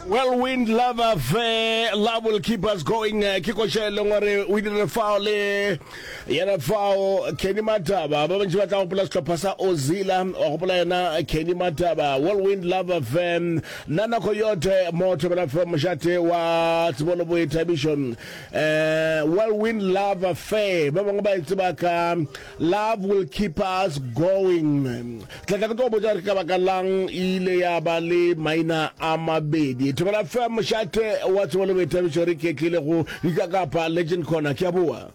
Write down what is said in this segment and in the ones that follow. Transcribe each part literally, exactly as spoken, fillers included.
Whirlwind Love Affair, Love Will Keep Us Going. eh, Ke koša e leng gore o dirile fao le yena fao Kenny Mataba. Ba bantši ba tla gopola sehlopha sa Ozila, wa gopola yena Kenny Mataba. Whirlwind Love Affair, Nana Coyote mo Thobela F M, mošate wa tsebo le boithabišo. Eh, Whirlwind Love Affair, ba bangwe ba e tseba ka Love Will Keep Us Going. Tla tla ke tlo botša gore ke ka baka lang e ile ya ba le maina a mabedi. Thobela F M, mošate wa tsebo le boithabišo, re ketlile go dikakapa Legend Corner. Ke a boa.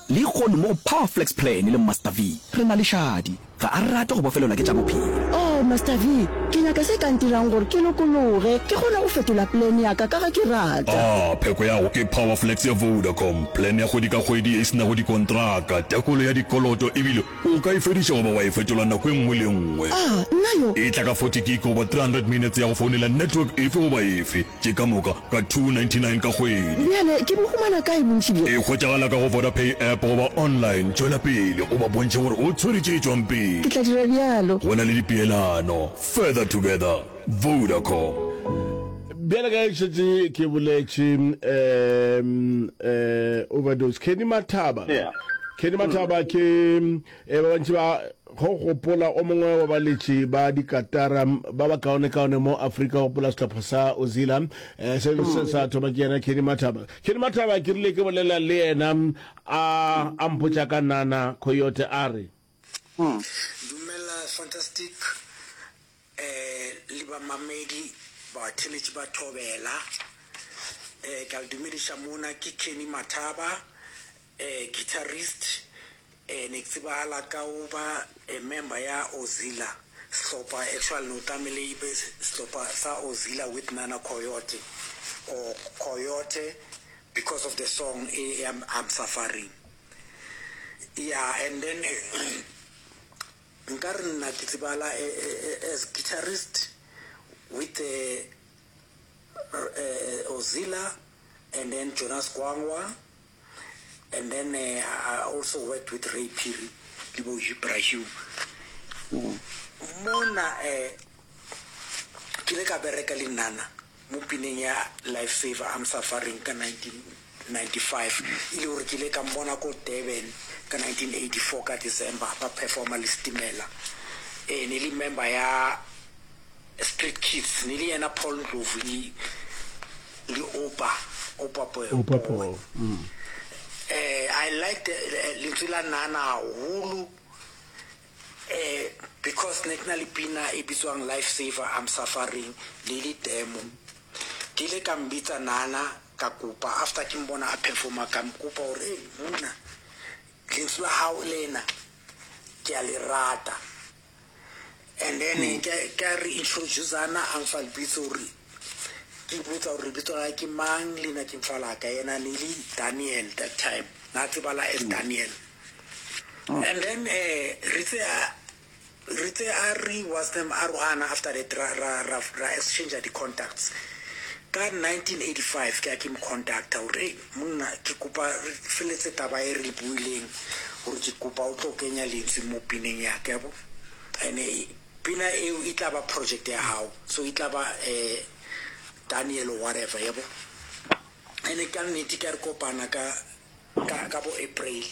Lehono mo go Power Flex Plan le Master V, re na le Shadi. Ga a rate go bofelelwa ke tša bophelo. Oh, Master V, ke nyaka se ka ntirang gore ke lokologe, ke kgone go fetola plan ya ka ka ge ke rata. Ah, pheko ya go ke Power Flex ya Vodacom, plan ya kgwedi ka kgwedi e se nago dikontraka, tekolo ya dikoloto, ebile o ka e fediša goba wa e fetola nako e nngwe le nngwe. Ah, nna yo. E tla ka forty gig goba three hundred minutes ya go founela network efe goba efe, tše ka moka ka two ninety-nine ka kgwedi. Bjale ke bo humana kae bontši bjo? E hwetšagala ka go Vodapay app goba online. Tšwela pele o ba bontšhe gore o tshwere tše tšwang pele. Ke tla dira bjalo. Go na le dipeelano. Further together. Vodacom. Bjale ka ge šetše ke boletše, um um overdose. Kenny Mathaba. Yeah. Kenny Mathaba ke eh, ba bantši ba go gopola o mongwe wa baletši ba dikatara ba ba kaone-kaone mo Afrika, gopola sehlopha sa Ozila, eh, se se sa thoma ke yena Kenny Mathaba. Kenny Mathaba ke rile ke bolela le yena a a mpotša ka Nana Coyote a re, Dumela Fantastic eh le bamamedi batheletši ba Thobela, eh ke a le dumediša mona. Ke Kenny Mathaba, eh guitarist, eh ne ke tsebagala ka go ba a member ya Ozila sehlopha. Actually no tlamehile e be sehlopha sa Ozila with Nana Coyote or Coyote because of the song e I'm, I'm Suffering. Yeah, and then nka re nna ke tsebala as guitarist with the uh, Ozila and then Jonas Gwangwa, and then uh, I also worked with Ray Phiri le bo Ibrahim mona. eh ke ile ka bereka le Nana mo pineng ya Life Saver I'm Suffering ka nineteen ninety-five, e le gore ke ile ka mmona ko Durban ka nineteen eighty-four ka December ba performa le Stimela. eh ne le member ya Street Kids, ne le yena Paul Ndlovu le le Opa Opa Poe. Opa Poe. eh I like lentswe la Nana haholo, eh because ne ke na le pina e bitswang Life Saver I'm Suffering le le demo. Ke ile ka mbitsa Nana, ka kopa after ke mbona a performa, ka mkopa gore, "Hey monna, lentswe la hao lena ke a le rata." And then ke ka re introduceana, a mfa lebitso gore ke botsa gore lebitso la ke mang, le nna ke mfa la ka. Yena ne le Daniel that time, na tsebala as Daniel. And then eh re tse re tse a re was them arohana. After that ra ra ra ra exchange di contacts. Ka nineteen eighty-five ke a ke mo contacta gore, "Hey monna, ke kopa re feletse taba e re buileng gore ke kopa o tlo kenya lentswe mo pineng ya ka yabo, and pina eo e tla ba project ya hao, so e tla ba eh Daniel or whatever yabo." And ka nnete ka re kopana ka ka ka bo April,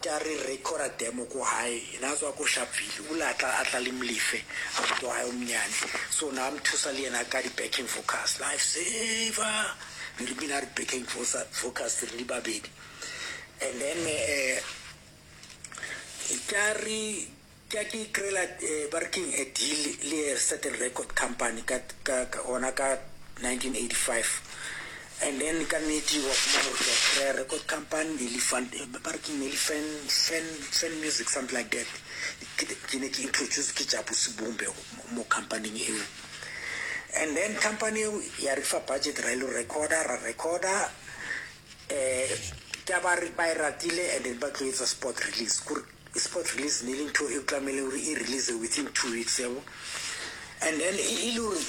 ke a re recorda demo ko hae. Yena a tswa ko Sharpeville, o le a tla a tla le Molefe, abuti wa hae o monyane, so na a mo thusa le yena ka di-backing vocals. Life Saver ne re bina re backing vocals re le babedi. And then eh ka re ke a ke kry-ela, ba re keng, a deal le a certain record company ka ka gona ka nineteen eighty-five. And then ka nnete wa fumana gore ke a kry-a record company, ne le fund, ba re ke ne le fan fan fan music, something like that. Ke ne ke introduce ke Jabu Sibumbe mo companyng eo. And then company eo ya re fa budget, ra ile recorda, ra recorda, eh ke ba re ba e ratile. And then ba tlo etsa spot release, kore spot release ne le ntho e tlamehile gore e release within two weeks yabo. And then e le gore